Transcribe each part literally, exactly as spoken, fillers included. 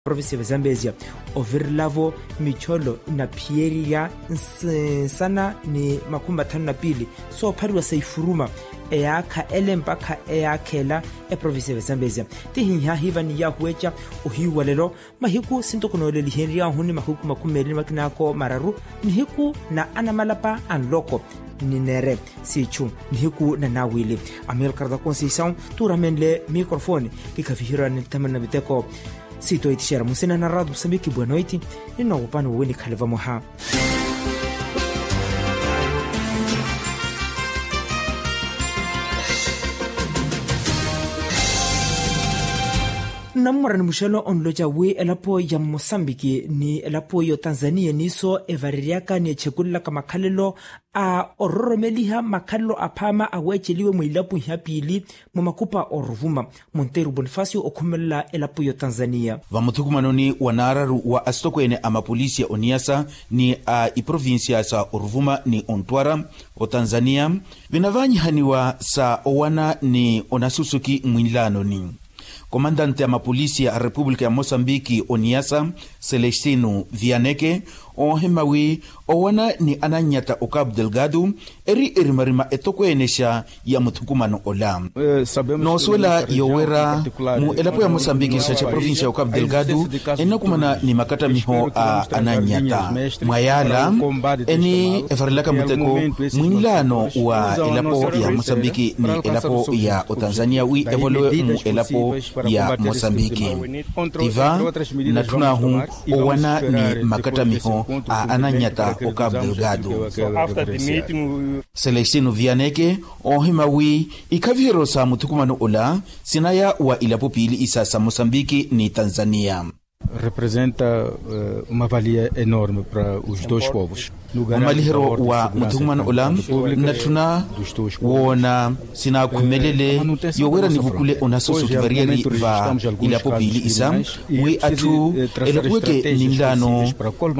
Provincia ya zambezia ovirilavo micholo inaphiyerya nsana ni makhumi mathanu na piili soophariwa sa ifuruma eyaakha ele mpakha eyaakha ela. Eprovincia ya zambezia tihinhyahiiva ni yaahuweca ohiiwalelo mahiku sintokonoolelihenryaahu ni mahiku makhumi meeli ni makinaako mararu nihiku na anamalapa a nloko ni neere siichu nihiku na naawili. Amilcar da conceição tuuramenle microfone kikhaviherwa ni thamani na miteko siitoitixera munsina na rado musambiki bwenoiti. Ninnoowopani wowi nikhale vamoha. Nnammora ni muxelo onloca wi elapo ya mosambiki ni elapo ya otanzania niiso evareryaka ni echekulelaka makhalelo a ororomeliha makhalelo aphaama aweeceliwe mwiilapo iha piili mwa makupa oruvuma. Monteiro bonifacio okhumelela elapo ya otanzania. Vamuthukumanoni wa naararu wa asitokweene a mapolisi ya oniyasa ni a iprovincia sa oruvuma ni ontwara otanzania vinavaanyihaniwa sa owana ni onasusuki mwinlaanoni. Komandante a mapolisi a repupulika ya mosambiki oniyasa celestino vianeke oohima wi owana ni anannyata o cabo delgado eri erimarima etokweenexa ya muthukumano ola. Noosuwela yowera mu elapo ya mosambiki xa xa provincia ya o cabo delgado ennakumana ni makattamiho a anannyata mwa yaala eni evarelaka muteko mwinlaano wa elapo ya mosambiki ni elapo ya otanzania wi evolowe mu elapo ya mosambiki. Tiva natthun'ahu owana ni makattamiho a anannyata o cabo delgado. Celestino vianeke oohima wi ikhaviheryo sa muthukumano ola sinaya wa ilapo piili isa sa mosambiki ni tanzania. Representa uma valia enorme para os dois povos. Mumaliheryo wa muthukumano ola nnatthuna woona sinaakhumelele yowera nivukule onasusuki variyari va ilapo piili isa wi atthu elapuweke ninlaano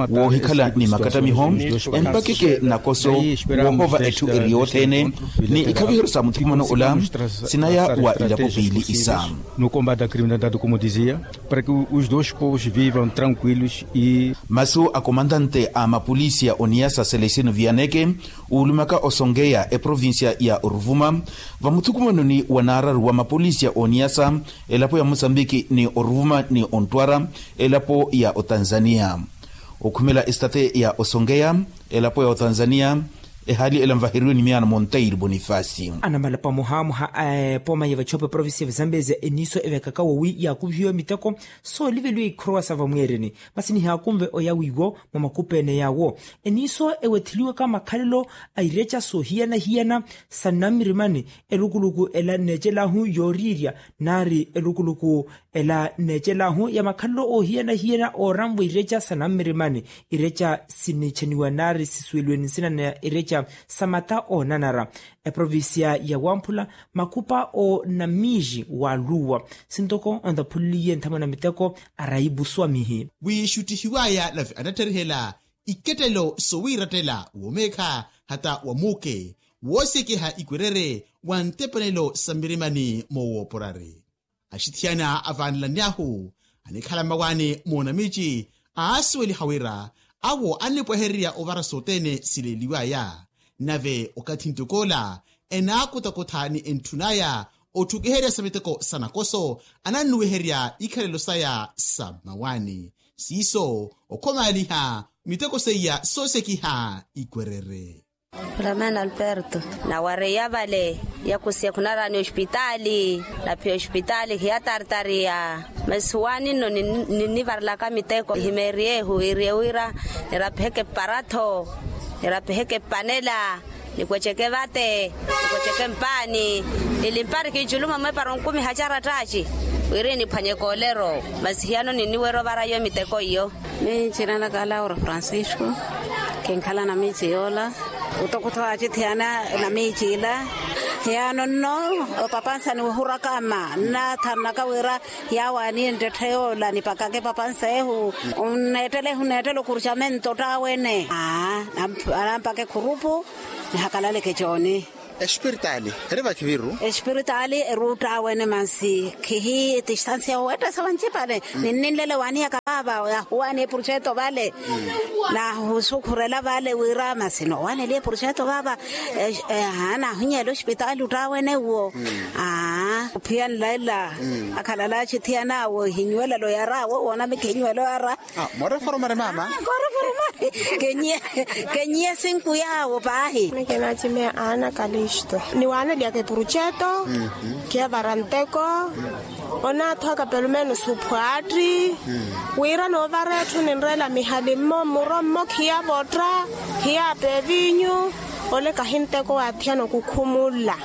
woohikhala ni makattamiho empakeke nakoso woohova etthu eri yothene. Ni ikhaviheryo sa muthukumano ola sinaya wa ilapo piili isa. No combate à criminalidade como dizia para que os dois povos vivam tranquilos e masu a komandante a mapolisi ya oniyasa celestino vianeke uulumaka osongeya eprovincia ya oruvuma vamuthukumanoni wa naararu wa mapolisi ya oniyasa elapo ya mosambiki ni oruvuma ni ontwara elapo ya otanzania. Okhumela estate ya osongeya elapo ya otanzania ehaali ela nvaheriwe ni miyaano monteiro bonifacio. Anamalapa muhaamuha a epooma ya vachopa provincia ya vazambezia eniiso evekaka wowi yaakuvihiwa miteko sooliveliwa ikhorowa sa vamweereni masi nihaakunve oya wiiwo mwa makupeene yaawo. Eniiso ewetheliwaka makhalelo a ireca soohiyana-hiyana sa nnammirimani elukuluku ela nneecelahu yooriirya naari elukuluku ela nneecelahu ya makhalelo oohiyana-hiyana ooranva ireca sa nammirimani. Ireca sinichaniwa naari sisuweliwe ni nsina na ireca sa mata oonanara eprovincia ya wamphula makupa o namiiji wa luwa sintoko ontaphuliye nthamwe na miteko araibu swamihi. Wiixuttihiwaya nave anatterihela ikettelo sowiirattela womeekha hata wamuuke woosekeha ikwerere wa ntepanelo sa mmirimani moowooporari. Axithiyana avaanelany'ahu anikhala mmawaani moonamiici aasuweliha wira awo annipwehererya ovara sothene sileeliw'aya. Nave okathi ntok'ola enaakutakutha ni entthun'aya otthukiherya sa miteko sa nakoso anannuwiherya ikhalelo saya sa mmawaani siiso okhomaaliha miteko seiya soosekiha ikwerere. Ramana alberto nawareya vale yakusiya khunaraani ospitaali. Naphiya ospitaali khiyatartariya masi waani nno ninnivarilaka miteko himeeriyehu iriye wira nirapiheke paratho nirapiheke panela nikweceke vate nikweceke mpaani. Nilimpari kiiculumo mwepara onkumiha carattaci wiri niphwanyeke olero masi hiyano ninniwerya ovara iyo miteko iyo. Miicina naka laura francisco kinkhala na miici yoola. Utokutho acithiyana na miici ila hiyano nno opapansa niwihuraka ma nnathanaka wira yawaani enttetta yoola nipakake papansa ehu. Nneettele ehu nneettele okuricamento ttaawene aa anampaka ekhurupu nihakalaleke cooni. Espiritaali eri vakhiviru. Espiritaali eri uttaawene mansi khihi distansiya owettesa vancipale. Ninninlele waanihaka vaava yahuwaani eprojeto vale. Nahusukhurela vale wira masi noowaneliye eprojeto vaava. Naahunyeela ospitaali ottaawene uwo. Aa ophiya nlaila akhalala axithiyana awo ehinyuwelelo yara awo woona mikhinyuwelo yara. Moreforomari mama. Koreforomari. Kenyiye sinku yaawo paahi. Nekenacimeya ana kalisto niwaaneliyaka epuruceto. Khiyavara nteko. Onaathowaka pelumenos ophwaatti wira noovara etthu ninreela mihali mmo mmuro mmo khiyavotta. Khiyaapa evinyu. Ole kahi nteko waathiyana okukhumulla.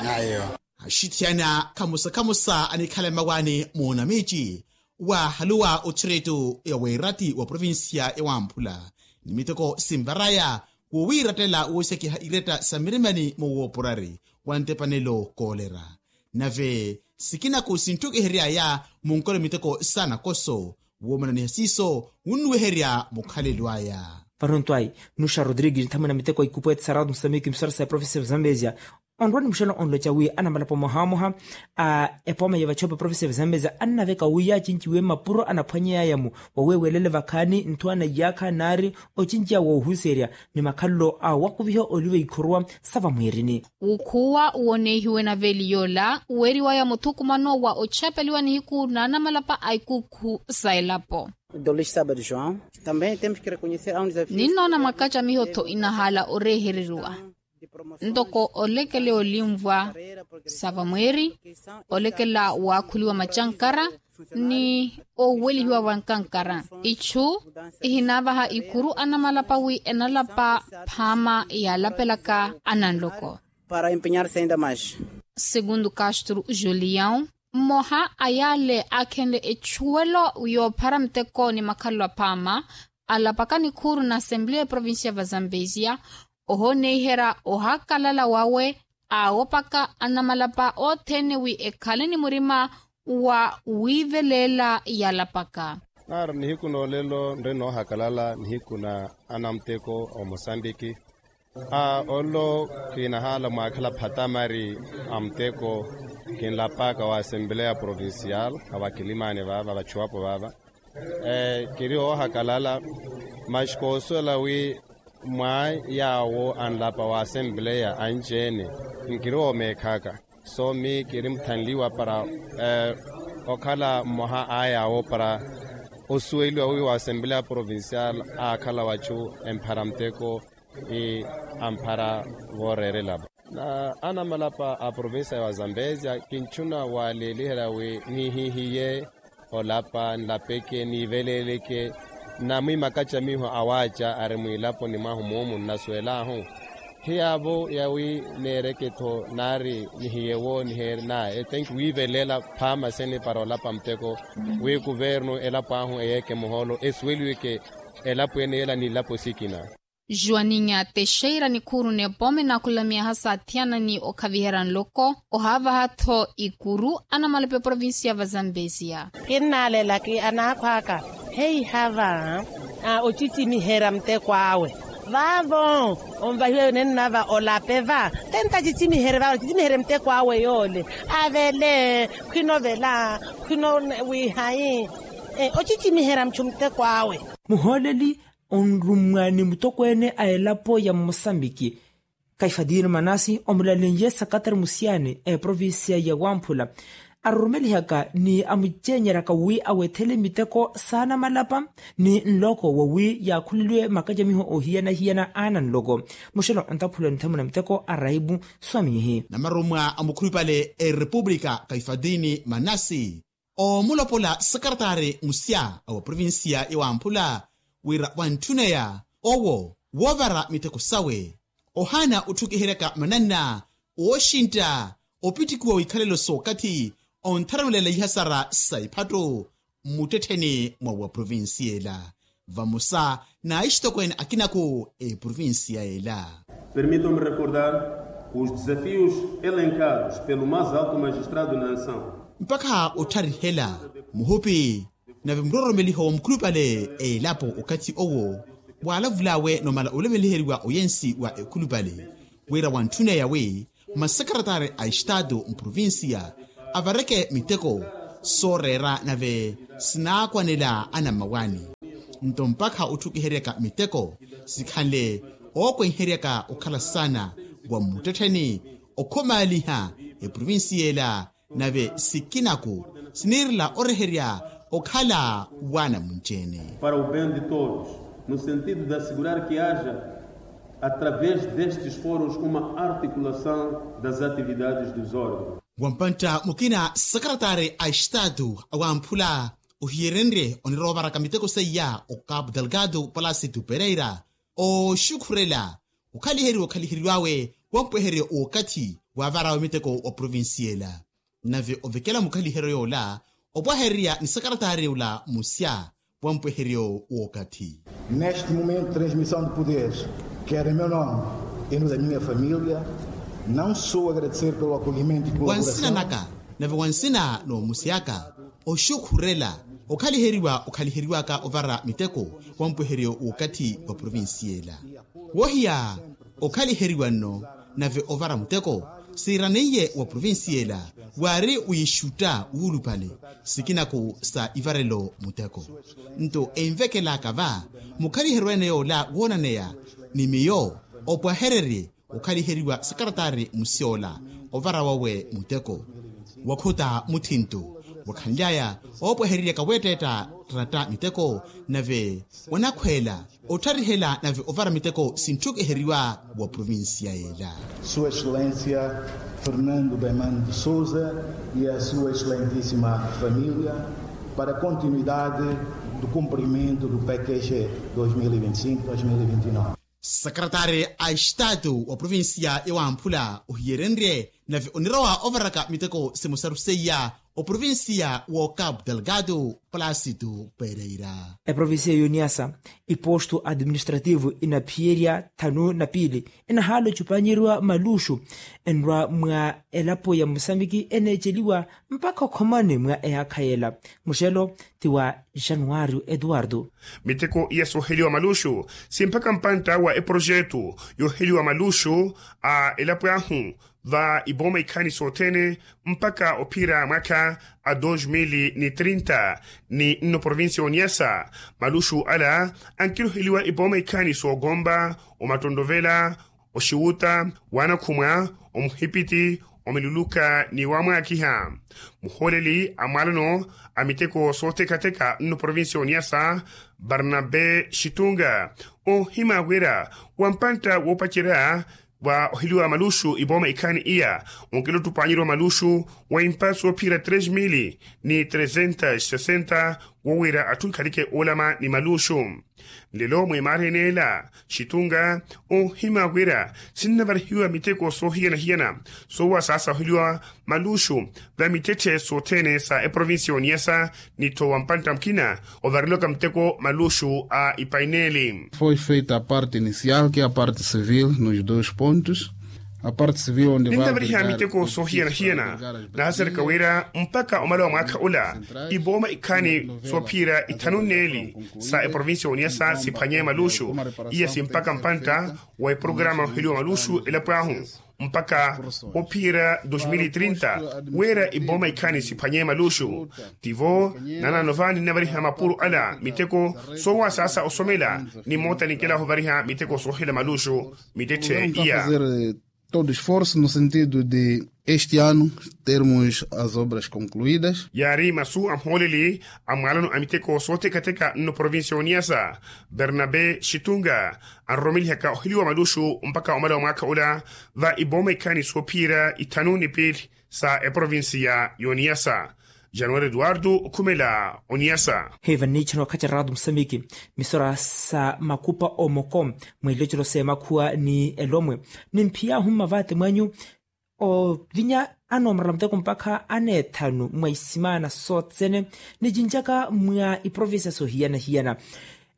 Axithiyana khamusa khamusa anikhala mmawaani muunamiici. Waahaluwa othireto ya weerati wa provincia ya wamphula ni miteko sinvaraya wowiirattela woosekiha iretta sa mirimani mowooporari wa ntepanelo koolera. Nave sikinaku sinttukiheryaya munkole miteko saanakoso woomananiha siiso wunnuweherya mukhalelo aya. Varontwayi nuxa rodrigues nthamwina miteko a ikupwete saratu musamiki msarasa ya profesa ya vazambezia. Onrwa ni muxela onloca wi anamalapa omohamoha a epooma ya vachopa profesa ya vazambezia annaveka wi yaacinciwe mmapuro anaphwanyeyaya-mu wawewelela vakhaani nthu anaiyakha naari ocinceya woohuserya ni makhalelo a wakuviha oliva ikhuruwa sa vamwiirini. Wukhuwa woonehiwe naveeli yoola weriwaya muthukumano wa ochapeliwa nihiku na anamalapa a ikukhu sa elapo. Dolis sabado joão. Também temos que reconhecer a unidade. Ninnoona mwakacamiho-tho inahaala orehereriwa ntoko olekela olinvwa sa vamweeri, olekela waakhuliwa macankara ni owelihiwa wa nkankara. Ichu ihinaavaha ikuru anamalapa wi enalapa phaama yaalapelaka ananloko. Para empeñar se ainda mais. Segundo castro julião, mmoha a yaale aakhenle echuwelo yoophara muteko ni makhalelo aphaama alapaka nikhuuru na assembleya ya provincia ya vazambezia, ohooneihera ohakalala wawe aawopaka anamalapa othene wi ekhale ni murima wa wiiveleela yalapaka. Naari nihiku noolelo nri noohakalala nihiku na anamuteko omosambiki. Aa ollo khinahaala mwaakhala phatamari a muteko. Kinlapaka wa assembleya provincial a vakilimaani vaava vachuwapo vaava. Kiri oohakalala maxi koosuwela wi mwa yaawo anlapa wa assembleya anci-ene nkiri woomeekhaka. So mi kiri muthanliwa para okhala mmoha a yaawo para osuweliwa wi wa assembleya provincial aakhala wachu emphara muteko. Amphara vooreerela-vo na anamalapa a provincia ya wazambezia kinchuna waleeliherya wi nihihiye olapa nlapeke niiveleeleke. Na mwimakacamiho awaaca ari mwiilaponi mwahu muumu nnasuwel'ahu. Hiyaavo yawi neereke-tho naari nihiyewo niheeri na etenki wiiveleela phaama sene para olapa muteko wi kuvernu elapo ahu eyeeke muhoolo esuweliweke elapo ene yeela ni elapo sikina. Juwaninha texeira nikhuuru n'epooma enaakhulamiyaha saathiyana ni okhaviherya nloko ohaavaha-tho ikuru anamalape provincia ya vazambezia. Kinnaalela ki anaakhwaaka heiha va ocicimiherya muteko awe. Vaavo onvahiwa yo nennava olape va tenta acicimiherye va ocicimiherye muteko awe yoole avele khwinovela khwino wihayi. Ocicimiherya muchu muteko awe. Muhooleli onrummwa ni mutokweene a elapo ya mmosambiki kaifatini manasi omulalenye sakatari musiyani a eprovincia ya wamphula arurumelihaka ni amuceenyeryaka wi awethele miteko saanamalapa ni nloko wawi yaakhuleliwe makacamiho ohiyanahiyana aana nloko. Muxelo ontaphula nthemu na miteko a raibu swamihi. Namarummwa a mukhulupale a erepupulika kaifatini manasi oomulopola sakaratari musya a wa provincia ya wamphula wira wantthuneya owo woovara miteko sawe ohaana otthukiheryaka mananna ooxintta opittikiwa wikhalelo s'okathi ontharawelela ihasara sa iphattu mmuttettheni mwa wa provincia ela vamosa na axitokweene akinaku a eprovincia ela. Permitam-me recordar os desafios elencados pelo mais alto magistrado na nação. Mpakha ottarihela muhupi nave muroromeliho wa mukhulupale a elapo okathi owo waalavul'awe nomala olemeliheriwa oyensi wa ekhulupale wira wantthuneya wi Masekretari a estaatu mprovincia avareke miteko sooreera nave sinaakwanela anammawaani. Nto mpakha otthukiheryaka miteko sikhanle ookwenheryaka okhala saana wa mmuttettheni okhumaaliha eprovincia ela. Nave sikinaku siniirela oreherya okhala waana munci-ene. Para o bem de todos, no sentido de assegurar que haja através destes foros uma articulação das atividades dos órgãos. Wampantta mukina sakaratari a estaatu awamphula ohiyerenrye onirowa ovaraka miteko seiya o capo delgado palasitu pereira ooxukhurela okhaliheriwa okhaliheriwawe wampweheryo w'okathi wavarawe miteko wa provincia ela. Nave ovekela mukhaliheryo yoola opwahererya ni sakaratari ola musya wampweheryo w'okathi. Neste momento de transmissão de poderes, quero em meu nome e no da minha família não só agradecer pelo acolhimento e colaboração. Wa nsina naka nave wa nsina n'omusi aka oxukhurela okhaliheriwa okhaliheriwaka ovara miteko wampweheryo w'okathi wa provincia ela. Wohiya okhaliheriwa nno nave ovara muteko siiraneiye wa provincia ela waari wiixutta wuulupale sikinaku sa ivarelo muteko. Nto envekelaka va mukhaliheryo ene yoola woonaneya ni miyo opwahererye okhaliheriwa sakaratari musyola ovara wawe muteko wakhuta muthinto wakhanly'aya oopwahereryaka weetteetta ttatta miteko nave wanakhweela ottarihela nave ovara miteko sintthukiheriwa wa provincia ela. Sua excelência fernando baiman de sousa e a sua excelentíssima família para a continuidade do cumprimento do package dois mil e vinte e cinco dois mil e vinte e nove. Sakaratari a estaatu wa provincia yawamphula ohiyerenrye nave onirowa ovaraka miteko simosaru seiya oprovincia wo capo delgado palasitu pereira. Eprovincia y'oniasa iposto administrativo inaphiyerya thanu na piili enahaala ocupanyeriwa maluxu enrwa mwa elapo ya musambiki eneeceliwa mpakha okhomani mwa eyaakha yela. Muxelo ti wa januario eduardo. Miteko iya sooheliwa maluxu si mpakha mpantta wa eprojetu yooheliwa maluxu a elapo ahu va ipooma ikhaani sothene mpakha ophira mwaakha a dos mil ni trinta ni nno provincia y'oniasa. Maluxu ala ankiroheliwa ipooma ikhaani sookompa omattontovela oxiwuta wanakhumwa omuhipiti omiluluka ni wamwaakiha. Muhooleli a mwalano a miteko soothekatheka nno provincia y'oniasa barnabe xitunga oohimya wira wa mpantta woopacerya wa oheliwa maluxu ipooma ikhaani iya onkela ottupaanyeriwa maluxu wa impa soophira tres mil ni tresentas sesenta wowira atthu ekhalike oolama ni maluxu. Nlelo mwimaari eneela xitunga oohimya wira sinnavarihiwa miteko soohiyana-hiyana soowa saasaholiwa maluxu va mittetthe sothene sa eprovincia y'oniasa ni tho wa mpantta mukina ovarilwaka muteko maluxu a ipaineeli. Foi feita a parte inicial que é a parte civil nos dois pontos. A parte civil onde vai ninavariha miteko soohiyana-hiyana nahasereka wira mpakha omala wa mwaakha ola ipooma ikhaani soophira ithanu nneeli sa eprovincia y'oniasa siphwanye maluxu iya si mpakha mpantta wa eprograma oheliwa maluxu elapo ahu mpakha ophiyerya dos mil e trinta wira ipooma ikhaani siphwanye maluxu. Tivo nanano va ninnavariha mapuro ala miteko soowa saasa osomela ni moota ninkela ovariha miteko soohela maluxu mittetthe iya. Todo esforço no sentido de este ano termos as obras concluídas. Yaari masu a muhooleli a mwalano a miteko soothekatheka nno provincia y'oniasa bernabe xitunga anromelihaka oheliwa maluxu mpakha omala wa mwaakha ola va ipooma ikhaani soophiyerya ithanu ni piili sa eprovincia y'oniasa. Januari eduardo okhumela oniasa. Heiva nniichana okhaceratu musamiki misora sa makupa omoko mweelocelo s'emakhuwa ni elomwe nimphiyahu mmavaate mwanyu ovinya anoomorela muteko mpakha aneethanu mwa isimaana sothene nicinjaka mwa iprovincia sohiyana-hiyana.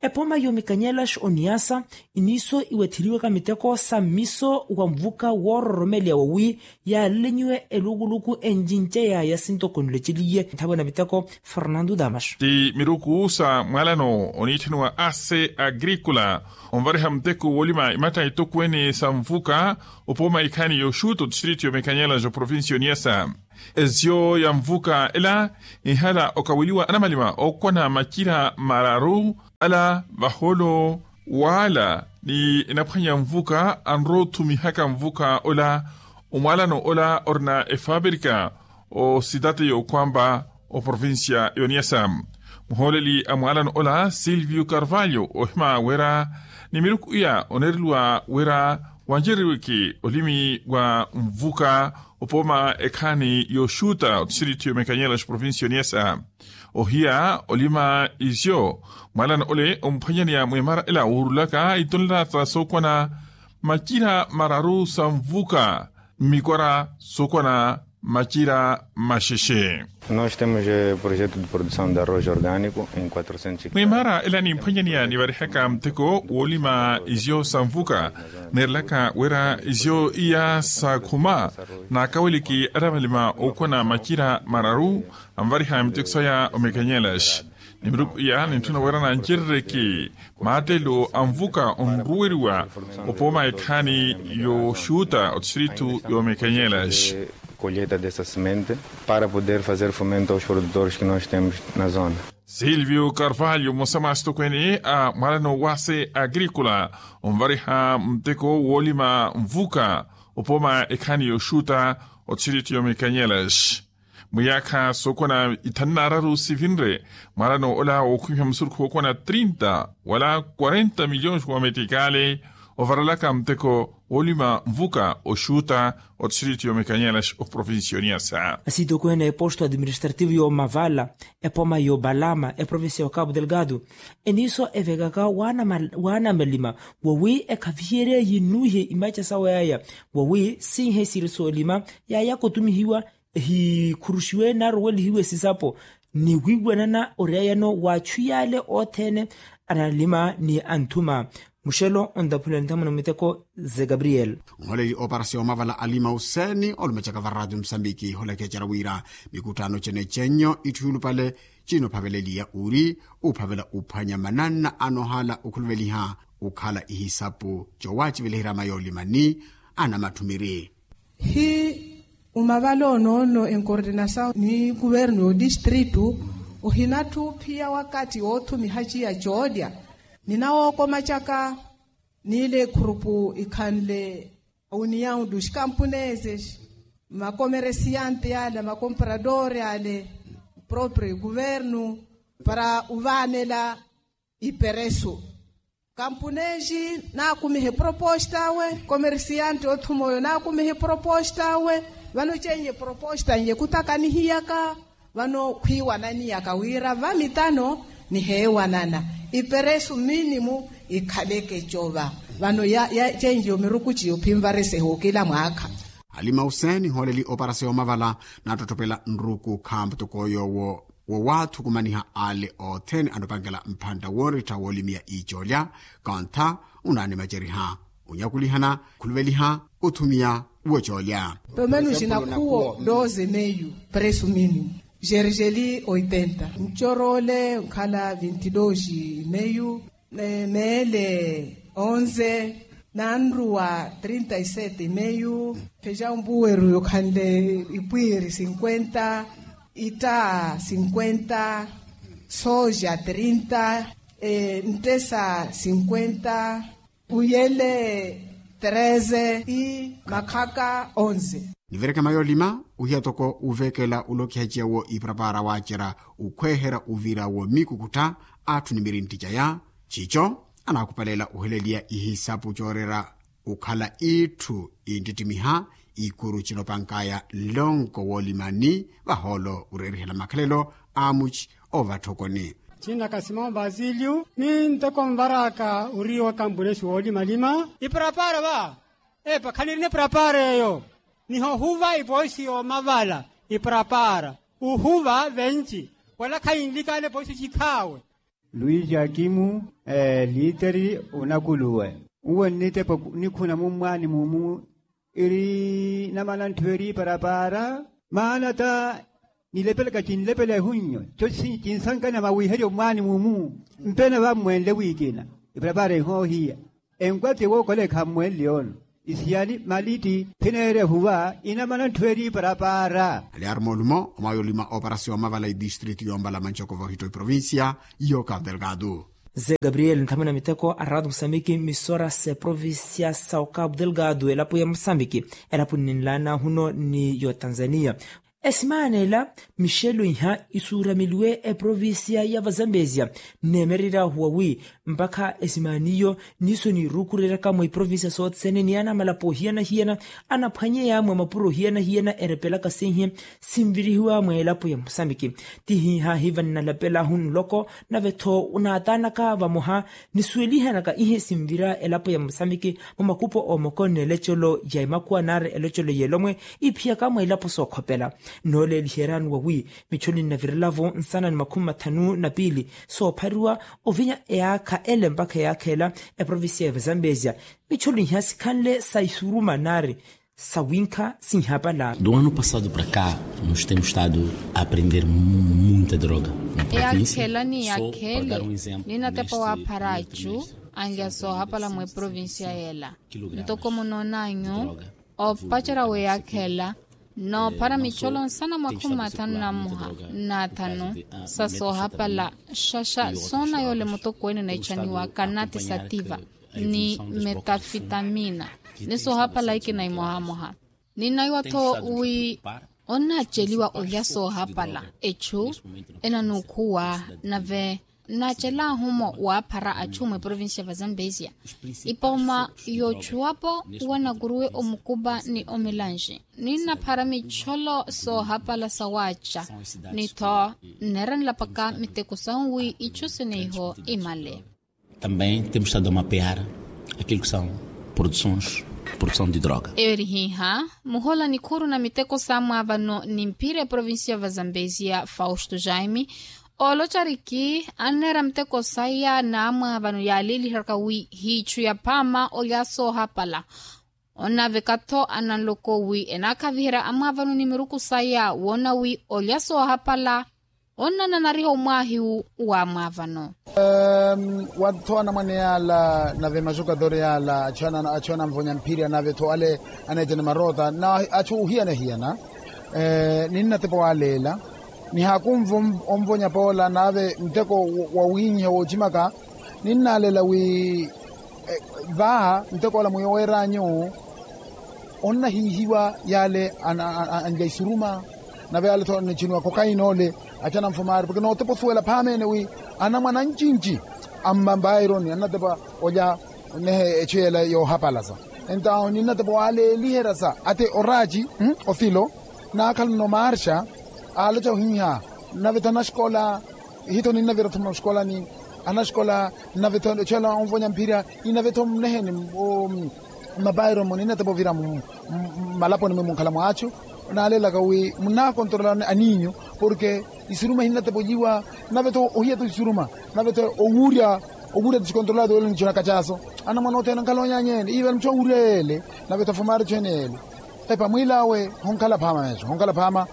Epooma y'omikanyelaxi oniyasa iniiso iwettheliwaka miteko sa mmiso wa nvuka woororomeleya wawi yaalenyiwe elukuluku encince yaaya sintoko nlweceliye nthawe na miteko. Fernando damas. Ti miruku sa mwaalano oniitthaniwa ase agrikula onvariha muteko woolima imatta itokweene sa nvuka opooma ikhaani yoxuuta otistritu yomikanyelaxi oprovincia oniyasa. Ezyo ya nvuka ela ihala okaweliwa anamalima ookwana macira mararu ala vahoolo waala ni enaphwanya nvuka anrowa othumihaka nvuka ola. Omwaalano ola orina efaaperika ositate y'okwampa oprovincia y'oniyasa. Muhooleli a mwaalano ola silvio carvalho ohima wira ni miruku iya oneereliwa wira wancereriweke olimi wa nvuka opooma ekhaani yoxuuta otistritu yomikanyelaxi provincia oniyasa. Ohiya olima izyo mwaalano ole omphwanyaneya mwemara ela wuurulaka itonlata sookwana macira mararu sa nvuka mmikwara sookwana macira maxexe. Nós temos projeto de produção de arroz orgânico em quatrocentos hectares. Mwemara ela nimphwanyaneya nivarihaka muteko woolima izyo sa nvuka neerelaka wira izyo iya sa khuma naakaweleke anamalima ookwana macira mararu anvariha miteko saya omikanyelaxi. Ni miruku iya nintthuna wira nancerereke maatelo a nvuka onruweriwa opooma ekhaani yoxuuta otistritu y'omikanyelaxi. Colheita dessa semente para poder fazer fomento aos produtores que nós temos na zona. Silvio carvalho mmosa mwa asitokweene a mwaalano wa se agrikula onvariha muteko woolima nvuka opooma ekhaani yoxuuta otistritu y'omikanyelaxi. Mwiyaakha sookwana ithanu n'araru sivinre mwaalano ola wookhwimiha musurukhu wookwana trinta wala quarenta milhões wa metikale ovarelaka muteko woolima nvuka oxuuta otistritu y'omikanyelaxi oprovincia oniyasa. Asitokweene a eposto administrativo y'omavala epooma y'opalama eprovincia ya cabo delgado eniiso evekaka waanamalima wawi ekhaviherye yinuuhe imaca sawe yaya wawi siihe siri soolima yaayaka otumihiwa ehikhuruxiwe naarowelihiwe sisapo ni wiiwanana oriyayano w'achu yaale othene analima ni anthuma. Muxelo ontaphulani nthamuna miteko ze gabriel. Nholeli oparasiya omavala alima useni olumacaka varatu musambiki holakecera wira mikutano cene cenyo itthu yulupale cinophaveleliya uri uphavela uphwanya mananna anohala okhuluveliha ukhala ihisapu cowaciveliherya mayoolima ni anamathumiri. Hi umavala onoono enkoordinasawu ni kuvernu y'odistritu ohinatthu phiya wakatti woothumiha ciya coolya ni nawookomacaka niile ekhurupu ikhanle uniyawu du xikampunese makomeresiyanti ale makomporadori ale proprio kuvernu para uvaanela iperesu. Kampunexi naakumihe proposta awe komersiyanti othuma oyo naakumihe proposta awe. Vano cenye proposta nyekhutakanihiyaka vano khwiiwananiyaka wira vamitano niheewanana iperesu minimu ikhaleke cova. Vano ya cenye omiruku ciyo phinvaresehe okila mwaakha. Halima hussein hooleli oparasiya omavala naattottopela nruku khamputoko yoowo wo waathukumaniha ale othene anopankela mphantta woorittha woolimiya icoolya. Kontha unaanimaceriha onyakulihana khuluveliha othumiya wocoolya. Pelo menos na khuwo doze meyu presu minimu. Gergeli oitenta ncoroole nkhala vinti dosi meyu. Meele onze nanruwa trinta y sete meyu. Pheja ompuweru yokhanle ipwiiri sinkwenta itta sinkwenta soja trinta nttesa sinkwenta uyele treze i makhaka onze. Nivereke mayoolima uhiya toko uveekela ulokiha ciya wo iparapara waacerya ukhweherya uvira wo miikukuttha atthu ni mirintti caya. Cico anaakupalela oheleliya ihisapu cooreera okhala itthu inttittimiha ikuru cinopankaya nlonko woolima ni vahoolo oreerihela makhalelo a amuci ovatthokoni. Cinnaka simon vasilio ni ntoko nvaraka ori wa kampunexi woolimalima. Iparapara va epa khanirina iparapara eyo. Niho ohuva ipoisi yoomavala iparapara uhuva venci wala khainlikana epoisi cikhaawe. Luis jakimu, liiteri onakuluwe, uwo nnitepa nikhuna mummwaani mumu iri namana ntthu eri parapaara. Maana ta nilepelaka cinlepela ehunnyo co cinsankana mawiherya omwaani mumu. Mpena vammwenle wikina iparapaara ehoohiya enkwati ewookola ekhammwenle ono isiyani malitti phineerya ehuva inamana ntthu eri parapaara. Aliaruma oluma omwaya olima operasyon mavala edistritu yombala manchoko vohitto iprovincia iyo cabo delgado. Ze gabriel nthamuna miteko aratu musamiki misora se provincia sa ocabo delgado elapo ya musamiki elapo nninlaana huno ni yo tanzania. Esimaana ela mixelo iha isuurameliwe eprovincia ya vazambezia. Nneemererya ahuwa wi mpakha esimaana iyo niso niirukureryaka mwa iprovincia sothene ni anamalapo ohiyana-hiyana anaphwanyeya mwa mapuro ohiyana-hiyana erepelaka sinhi sinvirihiwa mwa elapo ya musamiki. Ti hihahi vannalapelahu nloko nave-tho onaataanaka vamoha nisuwelihanaka ihe sinvira elapo ya musamiki mwa makupo omoko n'elecelo ya emakuwa nari elecelo y'elomwe iphiyaka mwa elapo sookhopela. Nooleeliheryani wawi michoni nnavirelavo nsana ni makhumi mathanu na piili soophariwa ovinya eyaakha ele mpakha eyaakha ela eprovincia ya vazambezia. Michoni iha sikhanle sa isuruma nari sawinkha sinhapala. Do ano passado para cá nós temos estado a aprender muita droga. Eyakhela ni yakhele ni natepa waaphara achu anlya soohapala mweprovincia yela. Ntoko munoonanyu opacerya weyakhela noophara micholo nsana mwakhumi mathanu na mmuha n'athanu sa soohapala. Xaxa soona yoole mutokweene na echaniwaka nati sativa ni metafitamina ni soohapala ikina imohamoha. Ninaiwa-tho wi onnaaceliwa olya soohapala echu enanuukhuwa nave nnaacelaahu-mo waaphara achu mweprovincia va zambezia. Ipooma y'ochuwapo wanakuruwe omukupa ni omelanxi ninnaphara micholo soohapala sawaaca ni-tho nneeranlapaka miteko sahu wi ichu sineiho imale. Também temos estado a mapear aquilo que são produções produção de droga. Eyo eri hiiha muhola nikhuuru na miteko saamwaavano ni mphira eprovincia va zambezia fausto jaime oolocariki anneera miteko saya n'amwaavano yaaleeliheryaka wi hiichu yaphaama olya soohapala. Onaveka-tho ananloko wi enaakhaviherya amwaavano ni miruku saya woona wi olya soohapala onnananariha omwaahiwu w'amwaavano. Wa-tho anamwane yaala nave maxokatore yaala achu anamvonya mphirya nave-tho ale aneetene maroota na achu ohiyana-hiyana. Ninnatepa waaleela nihaakunva onvonya poola nave nteko wawinyiha woocimaka. Ninnaaleela wi vaaha nteko ola mwiyo weeranyu onnahiihiwa yaale anlya isuruma. Nave yaale-tho niciniwa kokaina ole achu anamfumaari porke nootepa osuwela phaama-ene wi anamwane ancinci ammambaironi annatepa olya nehe echu yeela yoohapalasa. Entawo ninnatepa waaleeliheryasa ate oraaci ofilo naakhalana omarsha aaloca ohiiha. Nave-tho anaxikola ihi-tho ninnavira-tho mmaxikolani anaxikola nave-tho echu ela onvonya mphirya. Inave-tho mneheni mmapairomo ninnatepa ovira mmalaponi mwe munkhala mw'achu naaleelaka wi munnaakontorolani aniinyu porke isuruma ihinnatepa olyiwa. Nave-tho ohiya-tho isuruma nave-tho owuurya owuurya-tho sikontorolado yoole nichunaka chaso anamwane othene ankhala onyanya ene iivela muchu owuurya yeele. Nave-tho afumaari echu ene yeele epa mwiil'awe honkhala phaama meeso honkhala phaama.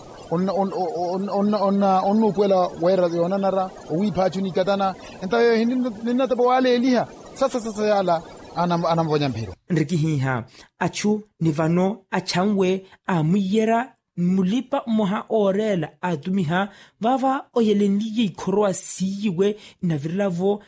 Onnuupuwela weera yoonanara owiipha achu nikatana. Entawo yeeyo ninnatepa waaleeliha sasa sasa yaala anamvonya mphiro. Nrikihiiha achu ni vano achanwe aamwiiyerya mulipa mmoha ooreela aatumiha vaava oyelenliye ikhorowa siiyiwe inavirela-vo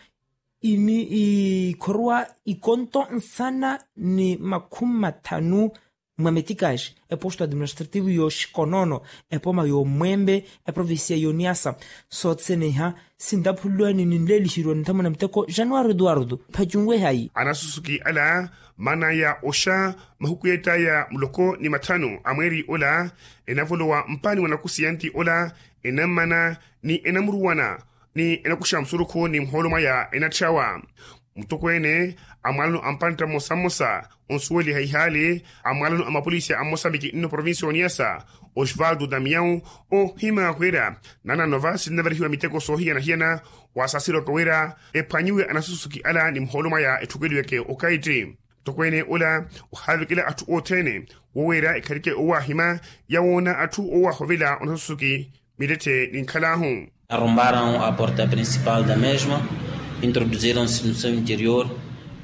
ikhorowa ikonto nsana ni makhumi mathanu mwa metikaxi eposto administrativo y'oxikonoono epoma y'omwembe eprovincia y'oniasa. Sothene iha sintaphululwani ninleelixeriwa ninthamuna miteko januwari eduwardo phacunwe hayi. Anasusuki ala maan'aya oxa mahuku yeett'aya muloko ni mathanu a mweeri ola enavolowa mpaani wa nakusiyanti ola enammana ni enamuruwana ni enakuxa musurukhu ni muhoolo mwaya enatthyawa. Mutokweene a mwalano a mpantta mmosa mmosa onsuweliha ihaali a mwalano a mapolisi a mmosambiki nno provincia oniyasa, osvaldo damiao, oohimaka wira nanano va sinnaverihiwa miteko soohiyana-hiyana. Wasaasirwaka wira ephwanyiwe anasusuki ala ni muhoolo mwaya etthukeliweke okaitti. Mutokweene ola ohaavekela atthu othene woweera ekharike owaahima yawoona atthu owaahovela onasusuki. Mitette ninkhalaahu. Arrombaram a porta principal da mesma, introduziram-se no seu interior.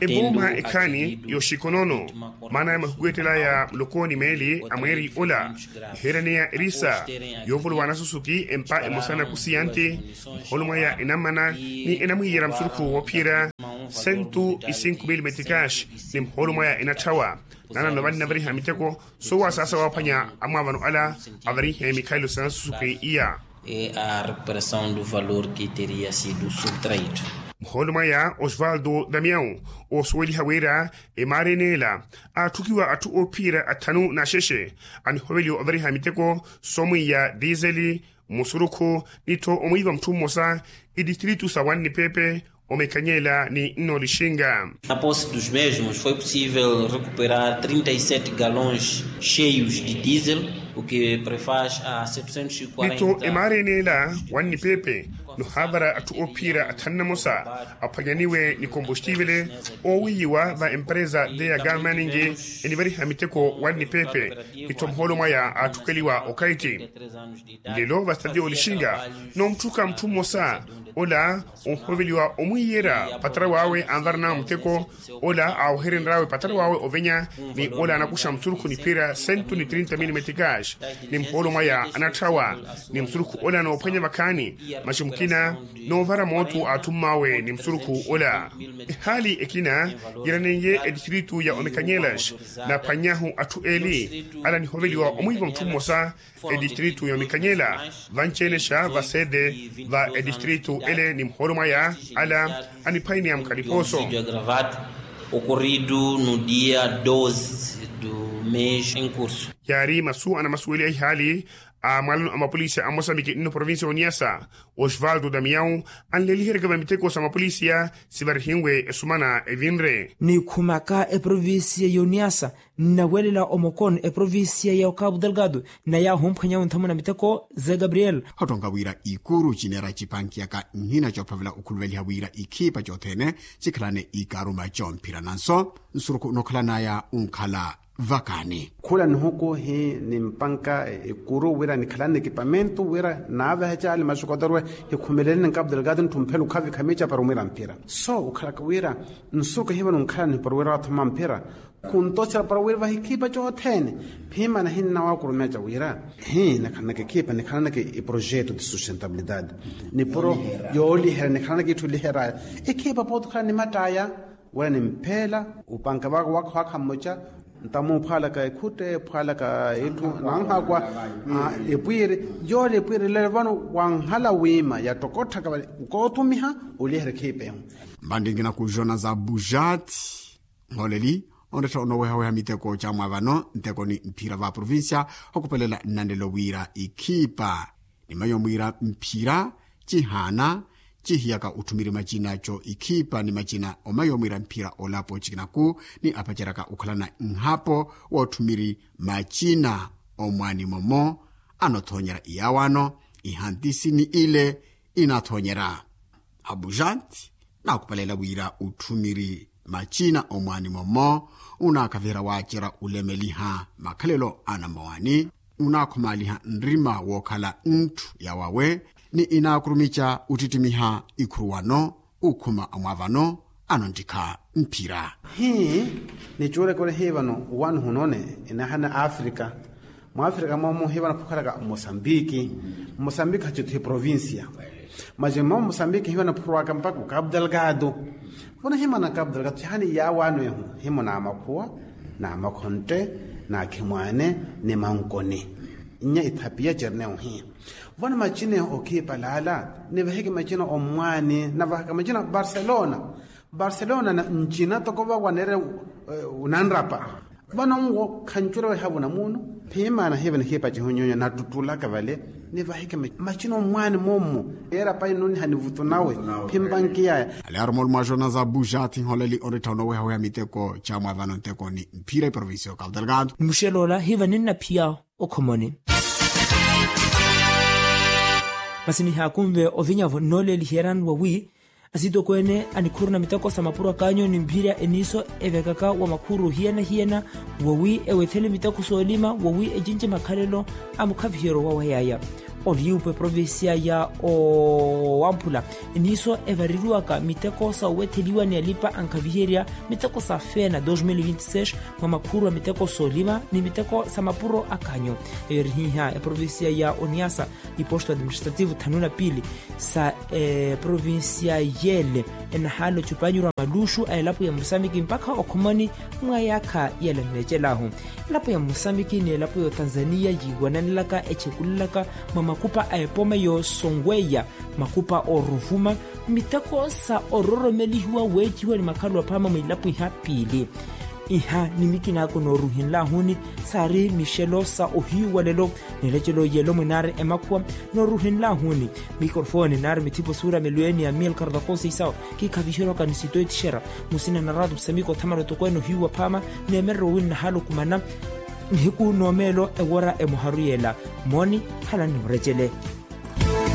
Embooma ekhaani yoxikonono maana ya mahuku ettela ya muloko ni meeli a mweeri ola, iheeraneya erisa yoovolowa anasusuki empa emosa nakusiyanti, muhoolo mwaya enammana ni enamwiiyerya musurukhu woophiyerya sentu ni sinku mili metikaxi, ni muhoolo mwaya enatthawha. Nanano vannaveriha miteko soowasaasa waaphwanya amwaavano ala avarihe mikhalelo sa nasusuki iya. E a recuperação do valor que teria sido subtraído. Muhoolo mwaya osvaldo damiao oosuweliha wira emaari eneela aatthukiwa atthu oophiyerya atthanu n'axexe anihoveliwa ovariha miteko soomwiiya dizeli, musurukhu, ni-tho omwiiva mutthu mmosa etistritu sa wannipepe, omekanyela ni nnoolixinga. Na posse dos mesmos foi possível recuperar trinta e sete galões cheios de diesel, o que prefaz a setecentos e quarenta. Ni-tho emaari eneela wannipepe nohaavara atthu oophiyerya atthanu namosa aphwanyaniwe ni kompostivele oowiiyiwa va empresa de ya galmaningi enivariha miteko wannipepe, ni-tho muhoolo mwaya aatthukeliwa okaitti. Nlelo vastati yoolixinga noomutthuka mutthu mmosa ola onhoveliwa omwiiyerya patara wawe anvaranawe muteko, ola aaweherenryawe patara wawe ovenya, ni ola anakuxa musurukhu niphira sentu ni trinta mili metikaxi, ni muhoolo mwaya anatthawha, ni musurukhu ola noophwanya vakhaani maxi mukina noovara mootu aatthummawe ni musurukhu ola. Ehaali ekina yiranenye etistritu ya omekanyelas, naphwannyahu atthu eeli ala nihoveliwa omwiiva mutthu mmosa etistritu ya omikanyela vanci-ene-xa vasede va etistritu ele ni muhoolo mwaya ala aniphwaineya mukhalipooso. Ocorrido no dia doze do mês em curso. Yaari masu anamasuweliha ihaali a mwalano a mapolisiya a mosambiki nno provincia oniyasa, osvaldo damiao anleliheryaka va miteko sa mapolisiya sivarihiwe esumana evinre. Nikhumaka eprovincia yoniyasa nnawelela omokon eprovincia ya okabu delgado. Naya ahumphwanya onthamuna miteko ze gabriel. Hottonka wira ikuru cinera cipankiyaka nhina cophavela okhuluveliha wira ikhipa cothene cikhalane ikaruma comphira nanso nsurukhu nokhalanaya unkhala vakani. Khula nihuku hi nimpanka ikuru wira nikhalane ekipamentu wira naaveha cali maxukotorwe hikhumeleleni nkapu delgado ntthu mphela ukhavikha mica para omwira mphira so ukhalaka wira nsuku hivano nkhalani para wira wathoma mphira. Khuntoxera para wira vahi khipa cothene phimana hinnawaakurumeca wira hi nikhalanaka ekhipa nikhalanaka eprojeto de sustentabilidade nipuro yoolihera nikhalanaka itthu oliheraya ekhipa pooti okhala nimattaya. Wira nimphela upanka vaka wakha wakha mmoca ntamu ophwalaka ekhutte ophwalaka itthu nanhakwa epwiiri yoole epwiiri lelo vano wanhala wiima yattokotthaka vale nkootumiha olihera ekhipa ehu. Mpantti nkinaku jona za bujat nhooleli onretta onoowehaweha miteko ca mwaavano nteko ni mphira va provincia okhupelela nnanelo wira ikhipa ni mayo mwiira mphira cihaana cihiyaka otthumiri macina co ikhipa ni macina omayo mwiira mphira olapo cikinaku ni apaceryaka okhalana nhapo wootthumiri macina omwaani momo anothoonyera iyawaano ihantisi ni ile inathoonyera. Abujanti naakupalela wira otthumiri macina omwaani momo unaakhaviherya waacerya olemeliha makhalelo a namowani unaakhumaliha nrima wookhala ntthu ya wawe ni inaakurumica ottittimiha ikhuruwano ukhuma omwaavano anonttikha mphira. Hi nicuulaka ori hi vano owaani hunone inahana afrika mwaafrika moomo hivana phukhalaka mosambiki. Mosambiki hacithu hi provincia maci mmomo mosambiki hivana phurwaka mpakha okapu delgado. Vona himana okapu delgado cihani yaawaano ehu himo naamakhuwa naamakhontte naakhimwaane ni mankoni nnya ithapiya cernehu hi vona macinehu okhipa laala nivaheke macina ommwaani navahaka macina barcelona. Barcelona ncina toko vawaneerya unanrapa vano nwo khancurewa ehavu na muno. Phimana hiva nikhipa cihonyonyo nattuttulaka vale Nivahike machina omwaani moomu. Yeera payi nuniha nivutu nawe. Phimpa nkiyaya. Aliaruma olumwaxona za buxati nholeli onrittha onoowehaweha miteko camwaavano nteko ni mphira eprovincia okautela kantu. Nimuxela ola hiva ninnaphiyao okhomoni. Masi nihaakunve ovinyavo nnooleliherani wawi asitokweene anikhuruna miteko sa mapuro akanyu ni mphira eniiso evekaka wa makhuru hiyana-hiyana, wawi ewethele miteko soolima wawi ecinci makhalelo a mukhaviheryo wa wayaya. Oliyuupa eprovincia ya owamphula eniiso evareriwaka miteko sa owetheliwa ni alipa ankhaviherya miteko sa fena dos mil vinti seis mwa makhuru a miteko soolima ni miteko sa mapuro akanyu. Eyo erihiiha eprovincia ya oniasa iposto administrativo thanu na piili sa eprovincia yele enahaala ocupanyurwa maluxu a elapo ya musambiki mpakha okhomoni mwa yaakha yele nneecelahu. Elapo ya musambiki ni elapo ya otanzania yiiwananelaka echekulelaka mwa makupa a epoma yoosonweya makupa ooruvuma miteko sa ororomelihiwa weeciwa ni makhalu aphama mwiilapo iha piili. Iha ni mikinaako nooruhenlahuni saari mixelo sa ohiyu walelo. Nilecelo yelo mwinaari emakhuwa nooruhenlahuni mikrofoni naari mithipo suura milweni ya mil kardakosi isawo kikhaviherwaka ni sitoitixera musina na ratu psamiko othamala otokweene ohiyu waphama. Neemereryo winnahaalukumana nihiku noomeelo ewora emoharu yeela. Mooni halani noorecele.